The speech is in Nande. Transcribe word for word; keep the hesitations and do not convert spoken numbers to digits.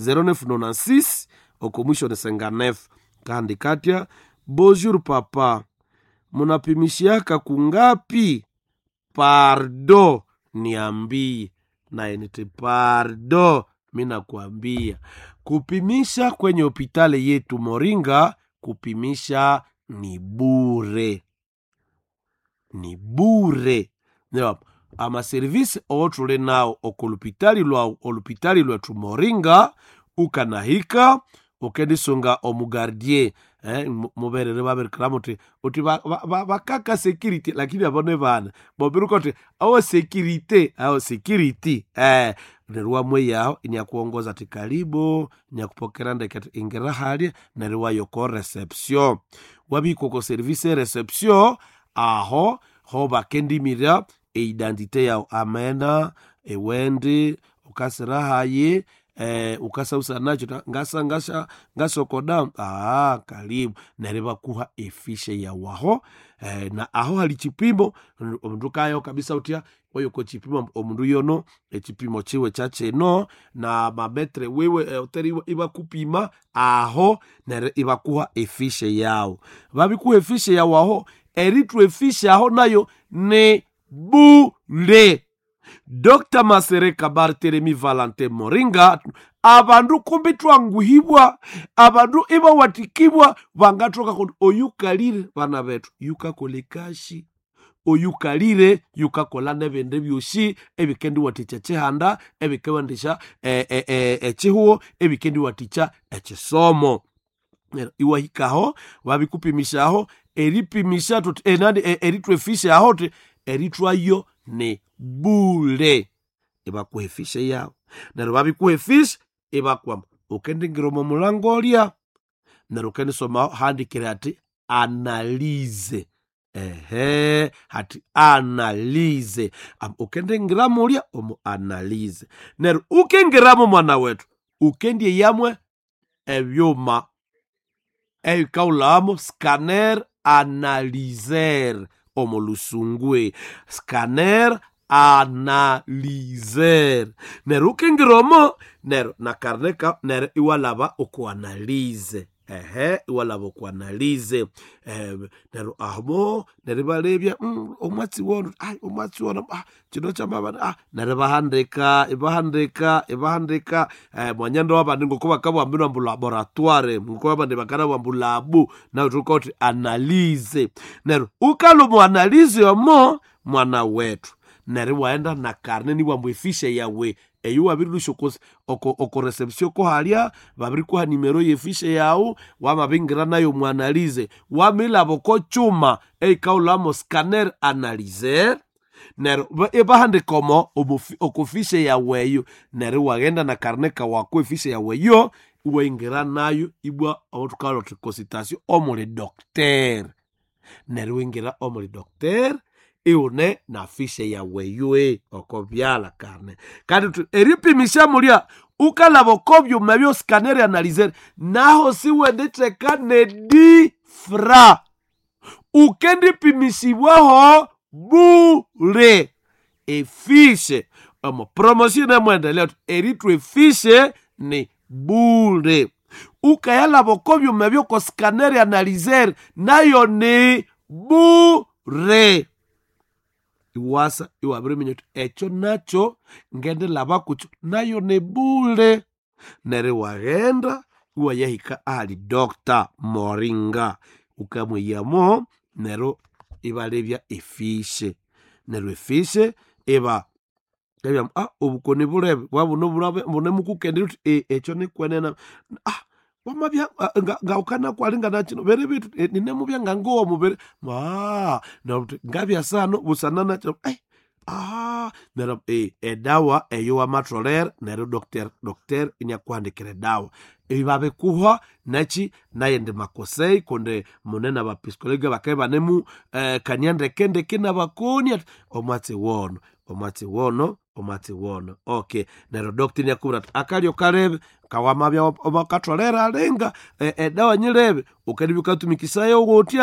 zéro neuf nonante-six oko mwisho ni cinquante-neuf. Kandi katya bonjour papa, munapimishiaka kungapi? Pardo niambie. Naye niti pardo, mi nakwambia kupimisha kwenye hopitali yetu Moringa, kupimisha ni bure, ni bure. Amaserivisi owotuli nawo okolupitali lwawu, olupitali lwetu Moringa, ukanahika ukendisunga omugardie eh, muberere babirikira muti uti bakaka ba, ba security, lakini abo ni bana bobiruka uti awo security, awo security eh, neryo wamweyaho inyakuongoza ati karibu, inyakupokera ndeke ati ingira halya, neryo wayoko reception, wabihika oko service e reception aho ho bakendimira eidentité yawu, amena ewendi ukasira hayi eh, ukasausa nacho ngasa ngasa ngasokoda ah, karibu neryo bakuha efishe yawaho eh, na aho hali chipimo omundu kayo kabisa utya oyo ko chipimo omundu yono echipimo chiwe chachino na mametre wiwe eh, oteri ibakupima aho neryo ibakuha efishe yawo babikuha efishe yawo aho eritwa efishe aho nayo ni bule. Docteur Masereka Barthelemy Valentin Moringa, abandu kumbi twanguhibwa, abandu ibawatikibwa bangathoka kundi oyukalire bana bethu yukakola ekashi, oyukalire yukakola nebindi byosi ebikendiwathikya ekihanda, ebikewandisya ekihuho, ebikendiwathikya ekisomo. Neryo iwahikaho babikupimisyaho eripimisya thuthi enani erithwa efisha aho thi erithwayo ni bule, ibakuha efisha yawu neryo babikuha efisha ibakwama ukendingira omo mulango olya neryo ukendisomaho handikire hati analize ehe hati analize ukendingira mulya omu analize neryo ukingiramo mwana wetu ukendyeyamwe ebyuma ebikaghulhamo scanner analyser omo lusungwe scanner analyser neryo ukingira omo neryo nakarneka neryo iwalhaba oku analize ehe iwalhaba oku analize eh, neryo aho neryo ibalebya mm, omwatsi wono ai omwatsi wono ah, kino kyamabana ah, neryo ibahandika ibahandika ibahandika eh, mwanyanda wabandi ngoko bakabugha ambu laboratoire ngoko abandi bakanabugha ambu labu nawe thuka wuthi analize neryo ukalwa omu analize omo mwana wethu neryo iwaghenda na karne nibugha efishe yawe eyo wabirilhusya oko, oko reception kohalya babirikuha nimero yefishe yawu wamabingira nayo omu analize wamilhaba oko kyuma eyikahulhamo scanner analyser neryo ibahandika omo oko fishe yawu eyo neryo iwaghenda na karne kawu ako efishe yawu eyo iwayingira nayo ibwa aho thukalhwa thuthi consultation omuli docteur neryo iwingira omuli docteur iwune na fishe yawu eyo oko byalha karne kandi eripimisya mulya ukalhaba oko byuma ebyo scanner analyser naho siwenditheka nedifra ukendipimisibwaho bule efishe omo promotion nemwendelea thuthi erithwa efishe ni bule ukayalhaba oko byuma ebyo oko scanner analyser nayo ni bure iwasa iwabiriminya uthi ekyo nakyo ngendilhaba kukyo nayo ni bule neryo iwaghenda iwayahika ahali Doctor Moringa ukamwiyamo neryo ibalebya efishe neryo efishe iba ebya ah obukoni bulebe bwabuno bunemukukendera uthi e, ekyo nikwenene ah wamabya ngawukanakwali nakino bere bitu ninemubya ngangowa mubiri ah ngabya sano busana nakino eh ah neryo eh, edawa eyo wamatholera neryo doctor doctor inyakuhandikira edawa ibabikuha nachi nayindi makosei kundi mune nabapsikologi bakabya ibanemu eh, kania ndeke ndeke nabakoni ati omwatsi wono omwatsi wono omwatsi wono okay neryo doctor inakubwira ati akalyo kalebe kawamabya wakatholera alinga edawa nyilebe ukendibya wukatumikisayo wutya.